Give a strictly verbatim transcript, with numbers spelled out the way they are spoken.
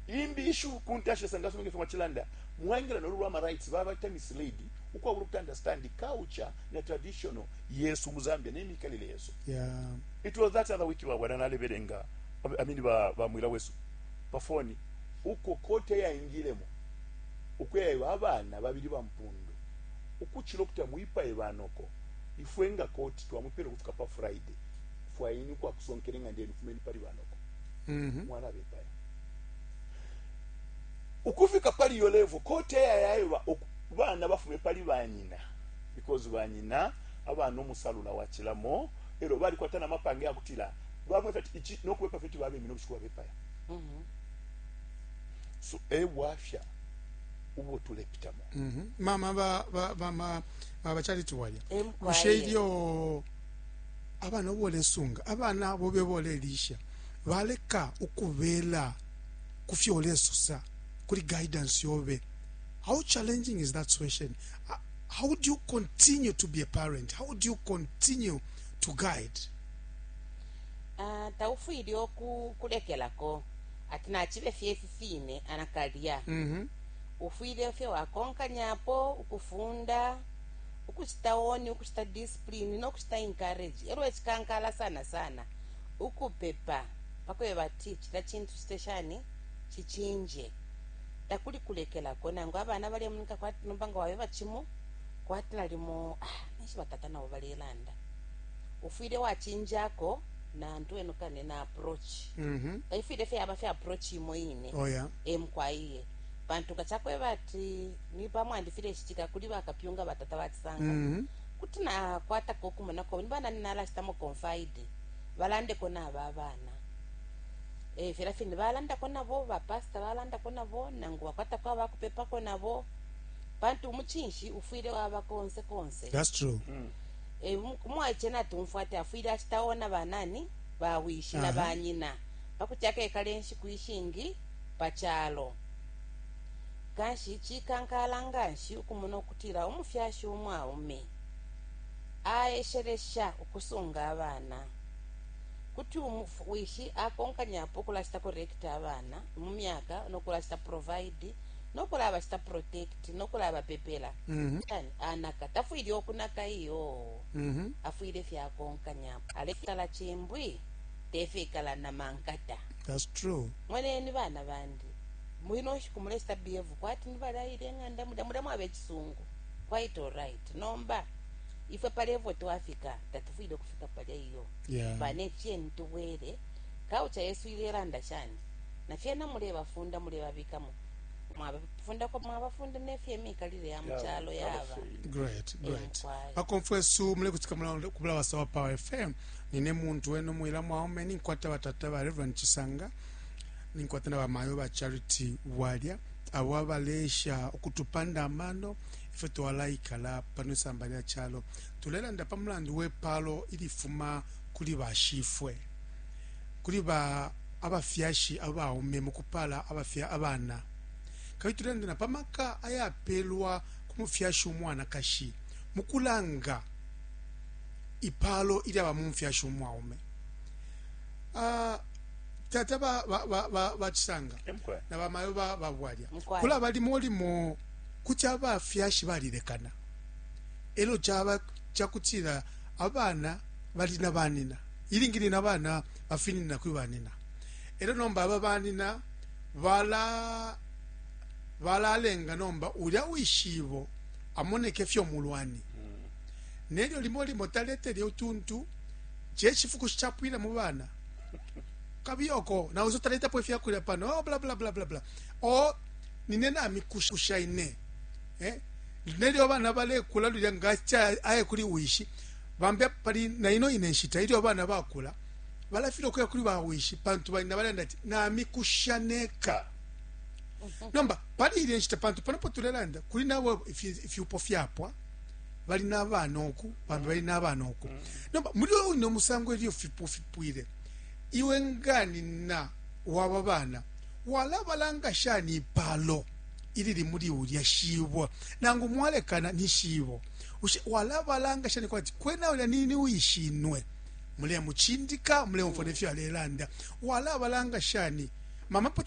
Imbi issue kuntashi sangaso mingi fuma chilanda mwaingila no lwa rights baba ta misled ukwabula ku understand culture na traditional yesu mu Zambia ne mikalile yesu. Yeah. It was that other week ba bwana nalebelenga, I mean, ba ba mwila wesu pa phone uko kote yaingilemo ukweba abana babili ba mpundu ukuchilo kuti muipaye banoko ifwenga koti twamupele kufika pa Friday fwaini kwa kusonkele ngandeni fumeni pali banoko. Mm-hmm. Mwana bepaya ukufika pali yo level kote yayayiba bana bafume pali banyina because banyina abana omusalula wachilamo ero bali kwatana mapange yakutila bamwe fati ichi nokuwepa feti babe mino bushikuwa bepaya. Mm-hmm. So e wafya ubo tulepitamo. Mm-hmm. Mama ba ba ba ma ba Charity walya Emkwaye. bushe ilyo abana bolesunga abana bobe bolelisha baleka ukubela kufyo olesosa kuli guidance yobe, how challenging is that situation? Uh, how do you continue to be a parent? How do you continue to guide? Ah, taufwile oku kulekelako ati nachibe fye fifine anakalya. mm-hmm. Ufwile fye wakonkanyapo ukufunda, ukuchita oni, ukuchita discipline nokuchita encourage. Elo echikankala sana sana ukupepa pakweba ati chita chintu chite shani chichinje. Takuli kulekelako nangu abana balemunika kwati nomba nga wabe bachimu kwati nalimo ah, nishi batata nabo balelanda ufwile wachinjako nantu enukane na approach. Mm-hmm. Taifwile fye yaba fye approach imo ine. Oh yeah. Emkwaiye pantu nga chakweba ati ni pamwandi file chitika kuli bakapyunga batata batisanga. mm-hmm. Kuti nakwatako okumonako nibana ninalashitamo confide balandeko naba abana e, fela fine balandako nabo bapasta balandako nabo nangu bakwatako abakupepako nabo pantu umuchinshi ufwile waba konse konse. That's true. E, umwaiche natumfwa ati afwile achitaona banani bawishi na Aha. banyina pakuti akekala enshiku ishingi pachalo. Kanshi chikankala nganshi ukumona okutila umufyashi umwaume aeshelesha ukusunga abana kuti umufu- wishi akonkanyapo okulashita correct abana mu myaka nokulashita provide nokulabashita protect nokulabapepela. mm-hmm. Yani, anaka tafwile okunaka iyo. Mm-hmm. Afwile fyakonkanyapo alekala chimbwi tefikala na mankata. That's true. Mweneni bana bandi mwino nshiku mulesita behave kwati nibalayile eng'anda mulya mulya mwaba echisungu, quite alright. Nomba ifwe pa level twafika tatufwile kufika palya iyo. Yeah. Bane cheni tubwere kaucha yesu ilelanda shani nafyena mulebafunda mulebabikamo mwabafundako mwabafunda nefye emikalile ya muchalo yaba. Great, great. Emkwai. Bakomfwesu mulekutika kubula wasawa Power F M nine muntu wenu mwila mwaume ninkwata batata ba Reverend Chisanga ninkwata na bamayo ba Charity Walya abo abalesha ukutupanda amano ife twalaikala pano isamba lya chalo. Tulelanda pa mulandu wepalo ilifuma kuli bashifwe kuli ba abafyashi abaume mukupala abafya abana kabili tulelanda na pamaka ayapelwa ku mufyashi umwanakashi mukulanga ipalo ilyaba mu mufyashi umwaume. uh, tata ba, ba, ba, ba, bachisanga Emkwe. na bamayo ba babwalya Mkwai. kulaba limo limo kuti abafyashi balilekana elo chaba chakutila abana bali na banina ilingi na bana bafinina kuli banina elo nomba aba banina bala balalenga nomba ulya wishibo amoneke fyo mulwani nelyo limo limo taletele utuntu chechifukushi chapwila mu bana kabiyoko nauzo taletapo ifyakulya pano, oh, bla bla bla bla bla o nine namikusha ine eh? Nelyo abana balekula lulya ngacha aye kuli wishi bambe pali na ino ine nshita ilyo abana bakula balafila okuya kuli bawishi pantu balina balanda ati namikusha neka. Nomba pali ilye nshita pantu panopo tulelanda kuli nabo ifi- ifyupo fyapwa bali n'abana oku bambi bali n'abana oku. Nomba muli uno musango ilyo fipo fipwile iwe nganina waba bana walabalanga shani ipalo ilili muli ulya shibwa nangu mwalekana ni shibo Ushe- walabalanga shani kwati kwena ulya nini wishinwe mulemuchindika mulemufona ifyo alelanda walabalanga shani mama pota?